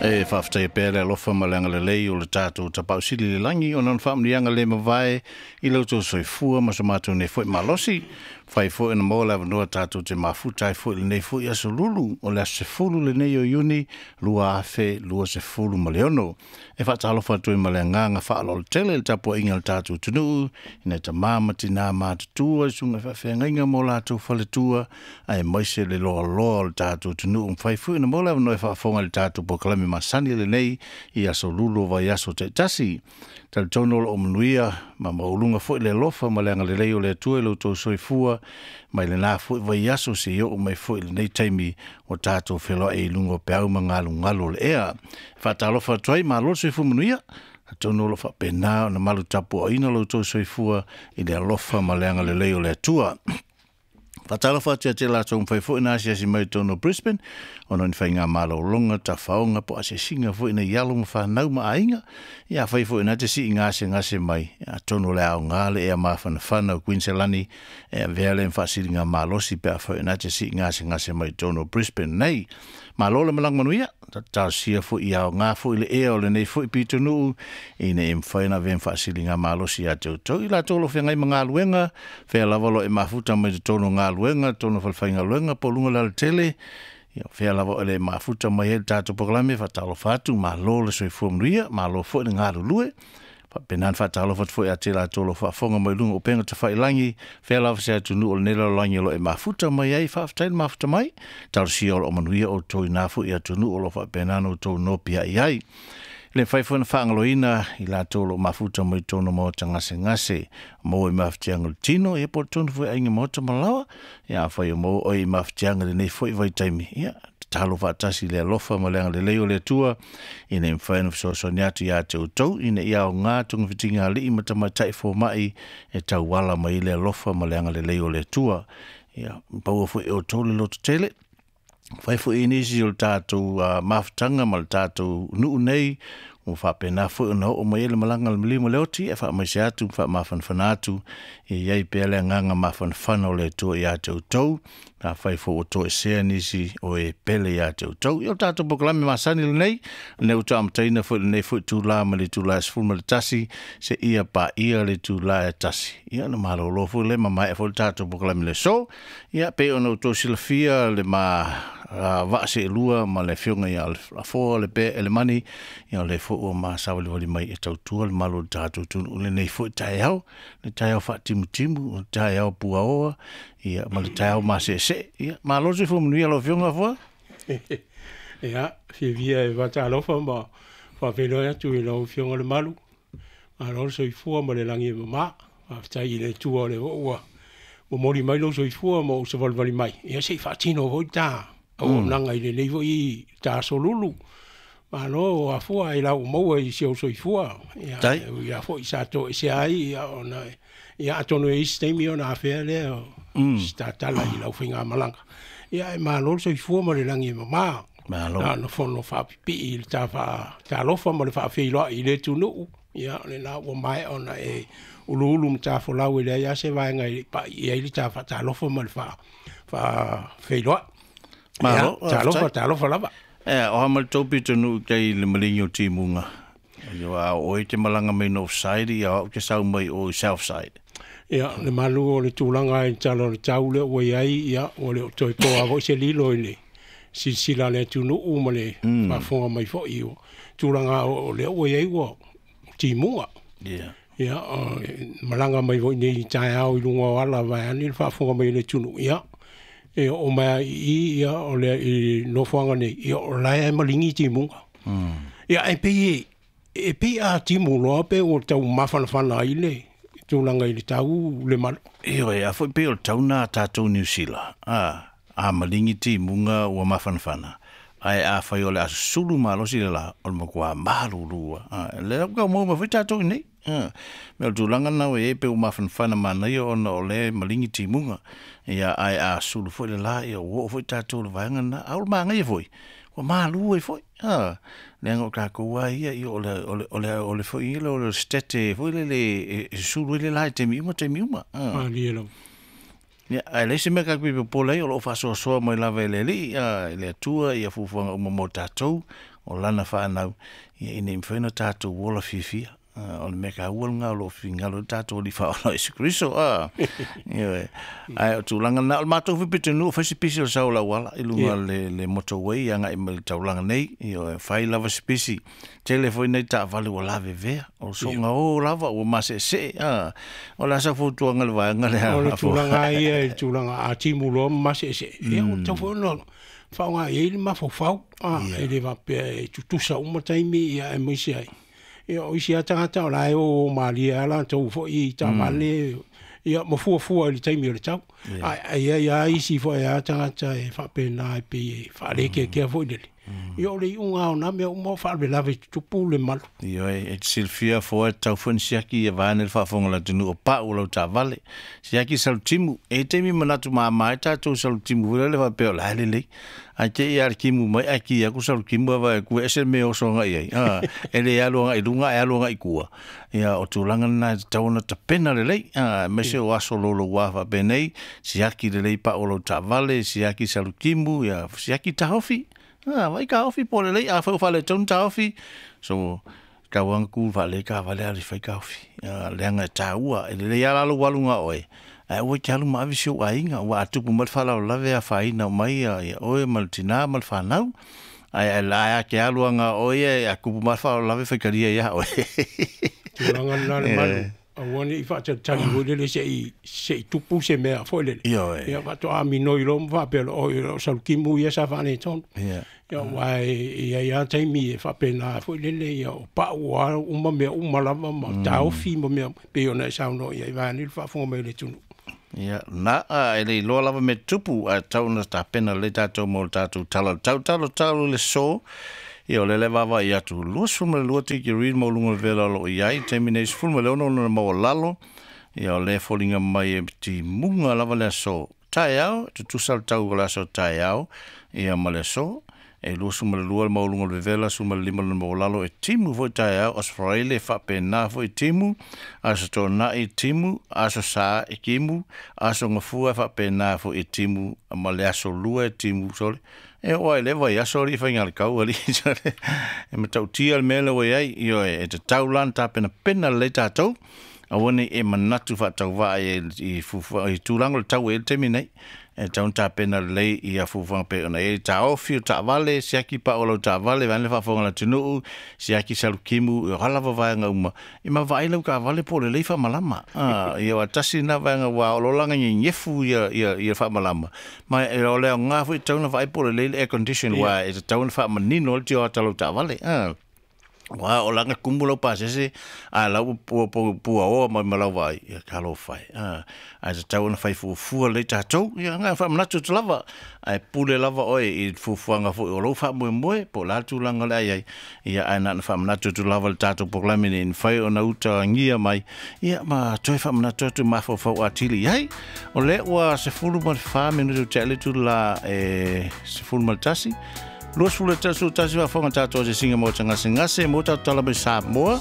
E faafetaia pea le alofa ma le agalelei o le tatou Tapaau Sili i le lagi ona o Lona faamanuiaga le mavae i lo outou soifua ma so matou nei foi malosi. Fai foi ona maua le avanoa tatou te mafuta ai foi i lenei foi aso lulu o le aso 10 lenei o Iuni 2026. E faatalofa atu ai ma le agaga faaaloalo tele i le tapuaiga a le tatou atunuu i nai tama ma tina matutua i susuga i faafeagaiga ma o latou faletua aemaise le loaloa o le tatou atunuu. Mafai foi ona maua le avanoa e faafofoga i le tatou polokalame masani lenei i aso lulu o vaiaso taitasi. Talitonu o lo o manuia ma maualuga foi le alofa ma le agalelei o le Atua i lo outou soifua mai lena foi vaiaso seia oo mai foi i lenei taimi ua tatou feloai i luga o peau ma galugalu o le ea. E faatalofa atu ai, malo le soifua manuia. Atonu o lo o faapena ona malu tapuaina lo outou soifua i le alofa ma le agalelei o le Atua. Faatalofa atu ia te latou mafai foi na asiasi mai i totonu o Brisbane ona o ni faiga malologa, tafaoga po o asiasiga foi nei alo ma fanau ma aiga. Ia afai foi na te sii gasegase mai, atonu o le aoga le ea mafanafana o Queensland e avea lea ma faasiliga malosi pe afai na te sii gasegase mai i totonu o Brisbane nei. Malo le malaga manuia, talosia foi ia aoga foi le ea o lenei foi pitonuu ina ia mafai ona avea ma faasiliga malosi ia te outou. I latou o lo o feagai ma galuega, fea lava o lo o e mafuta mai totonu o galuega, totonu o falefaigaluega po o luga o le alatele, ia fea lava o le mafuta mai ai le tatou polokalame, faatalofa atu, malo le soifua manuia, malo foi le galulue. Faapena ona faatalofa atu foi ia te latou o lo o faafofoga mai i luga o upega tafailagi, fea lava se atunuu o lenei lalolagi o lo o e mafuta mai ai, faafetai le mafuta mai, talosia o lo o manuia outou i na foi atunuu o lo o faapena ona outou nopiai ai. E le mafai foi ona faagaloina i latou o lo o mafuta mai totonu o maota gasegase, maua i mafatiaga o le tino, ia po o totonu foi o aiga maota ma laoa. Ia afai o maua oe i mafatiaga i lenei foi vaitaimi, ia tatalo faatasi i le alofa ma le agalelei o le Atua ina ia mafai ona fesoasoani atu ia te outou, ina ia aoga togafitiga a alii ma tamaitai fomai e tauala mai ai le alofa ma le agalelei o le Atua. Ia maua foi e outou le lototele, fai foi i nisi o le tatou mafutaga ma le tatou nuu nei, ua faapena foi ona oo mai ai le malaga a le maliu ma le oti, e faamaise atu ma faamafanafana atu, e i ai pea le agaga mafanafana o le Atua ia te outou, afai foi ua toesea nisi o e pele ia te outou. Ia o le tatou polokalame masani lenei, lenei ua toe amataina foi lenei foi itula mai le itula e 11 seia paia le itula e 1. Ia ona malolo foi lea ma maea foi le tatou polokalame i le aso. Ia pei ona outou silafia le ma vaa seelua ma le afioga ia Afoa le Pea Elemani, ia o lea foi ua ma savalivali mai e tautua le malu o le tatou atunuu i lenei foi taeao, le taeao faatimutimu, le taeao puaoa, ia ma le taeao maseesee. Ia malo le soifua manuia lau afioga Afoa. Ia, fiafia e faatalofa ma faafeiloai atu i lau Afioga Lemalu, malo le soifua ma le lagi e mama. Faafetai i le Atua o lea foi ua momoli mai lou soifua ma ou savalivali mai, ia se i faatino foi ta auaunaga i lenei foi ta aso lulu. Malo afua i lau maua i si ou soifua, ia ui lava foi sa toesea ai, ia ona ia atonu e i ai se taimi ona afea lea o se tatala i lau faigamalaga. Ia ae malo le soifua ma le lagi e mama. Malo. Na ona fono faapipii i le ta faatalofa ma le faafeiloai i le atunuu. Ia o lena ua maea ona e uluulu matafolau e leai lava se vaega e pai i ai le ta faatalofa ma le faafeiloai. Malo, Ia, talofa, talofa lava. O a ma le tou pitonuu i tai i le maligi o timuga. Ia a o oe te malaga mai North Side, ia o au te sau mai o i South Side. Ia, le malu o le tulaga i le tala o le tau lea ua i ai, ia, ua le o toe toa foi se lilo i le silasila a le atunuu ma le faafofoga mai foi. O tulaga o lea ua i ai ua timuga. Yeah. Ia, o malaga mai foi nei i taeao i luga o ala vaeane le faafofoga mai a le atunuu, ia, e oo mai lava i i, ia, o le i nofoaga nei, ia, o la e maligi timuga. Ia, e pei e pei a timu loa pe ua tau mafanafana ai le tulaga i le tau le malu. Ioe, a foi pei o le tau na a tatou Niu Sila, a maligi timuga ua mafanafana, ae afai o le a susulu malosi le la, o le matua malulu lava. Lea ua tau maua mai foi tatou i inei. Mea o le tulaga lena ua i ai pei ua mafanafana manaia ona o lea e maligi timuga. Ia, ae a sulu foi le la, ia ua oo foi tatou i le vaega lena. A o le manaia foi, ua malu ai foi. Leaga o tatou lava ia, ia o le, o le, o le, o le foi ia o le sitete foi lele e susulu ai le la i taimi uma, taimi uma. Malie lava. Ia, ae leai se mea tatou te popole ai, o lo o faasoasoa mai lava e le Alii, e le Atua ia fuafuaga uma mo tatou, o lana fanau, ia ina ia mafai ona tatou ola fiafia. O le mea taua lena o lo o finagalo ai le tatou Alii Faaola o Iesu Keriso. Ioe. Ae o tulaga na, o le matou foi pitonuu, fai se pisi o le sau o le auala i luga o le motorway agai mai le taulaga nei. Ioe, fai lava se pisi. Tele foi nai taavale ua lavevea, o soga o lava ua maseesee. O le a sau fautuaga i le vaega lea? O le tulaga lava ia i le tulaga a timu loa ma maseesee, ia ua tatau foi ona faaaoga i ai le mafaufau, e le faapea e tutusa uma taimi, ia aemaise ai. Ia o isi lava tagata o la e o malie lava latou foi i taavale, ia ma fuafua i le taimi o le tau. Ae i ai lava isi foi lava tagata e faapena e pei e faalekeakea foi lele. Ia o le iuga lava o na mea uma o faalavelave e tutupu le malu. Ioe, e te silafia fua e tatau foi ona siaki ia vaeane le faafofoga a le atunuu o pau o lau taavale. Siaki salutimu, e i ai taimi manatu mama ai tatou i salutimu foi lele faapea o la e lelei. Ae te i lava le timu mai ae ki atu salutimu ae vaai atu e ese le mea e oso agai i ai. E le alu agai i luga ae alu agai i tua. Ia, o tulaga lena e tatau ona tapena lelei, aemaise o aso louloua faapenei, siaki lelei pau o lau taavale, siaki salutimu, ia, siaki taofi. Vaai taofi po o lelei, afai ua faaletonu taofi, so tau lava ona tu faalelei taavale ae alu e fai taofi. Leaga e taua, e lelei lava la lou alu na o oe, ae aua e te alu ma ave si ou aiga, aua a tupu mai le faalavelave e afaina uma ai oe ma le tina ma le fanau. Ae la e te alu lava na o oe ia, a tupu mai le faalavelave e faitalia ia oe. Tulaga lena le malu, aua ne i faatalitali foi lele se i tupu se mea foi lele. Ioe. Ia faatoa minoi loa ma faapea loa, oi o salutimu ia sa faaletonu. Ia. Ia aua e i ai lava taimi e faapena foi lele, ia o pau lava uma mea uma lava ma taofi ma mea pei ona e saunoa i ai vaeane le faafofoga mai o le atunuu. Ia, na, e le iloa lava mea tupu, ae tatau ona tapena lelei tatou mo le tatou tala o le tau. Talo talo i le so, ia o lea la e vaavaai atu, 22 tikeri le maualuga o le vela o lo o i ai, taimi nei 16 ona maualalo, ia o lea e foliga mai e timuga lava le aso taeao, e tutusa le tau o le aso taeao, ia ma le aso, e 22 le maualuga o le vevela, 15 lona maualalo e timu foi taeao, Aso Faraile e faapena foi timu, Aso Toonai timu, Aso Sa e timu, Aso Gafua e faapena foi e timu, ma le Aso Lua e timu, sole. E oo lava i lea vaiaso alii faigalikau alii, sole. E matautia le mea lea ua i ai, ioe, e tatau la ona tapenapena lelei tatou, aua ne i e manatu faatauvaa i i tulaga o le tau e i ai le taimi nei. E tatau ona tapena lelei ia fuafuaga pei ona i ai taofi o taavale, siaki pau o lau taavale, vaeane le faafofoga a le atunuu, siaki salukimu, o a lava vaega uma, ia ma vaai lau taavale po o lelei faamalama. Ia aua tasi lena vaega aua o lo o laga nyefu ia faamalama, ma o le aoga foi e tatau ona vaai po o lelei le air condition, aua e tatau ona faamanino le tioata o lau taavale. Aua o laga kumu lau pasese, a la ua puaoa mai ma lau vaai, ia talofa e. Ae tatau ona fai fuafua lelei tatou, ia na faamanatu atu lava, ae pule lava oe i fuafuaga foi o lou faamoemoe, po o le a le tulaga o le a i ai, ia ae na ona faamanatu atu lava i le tatou polokalame ina ia mafai ona utagia mai, ia ma toe faamanatu atu mafaufau atili i ai. O lea ua 14 minute ua tea le itula e 11, 21 faafofoga tatou asiasiga maota gasegase mo tatou tala mai Samoa.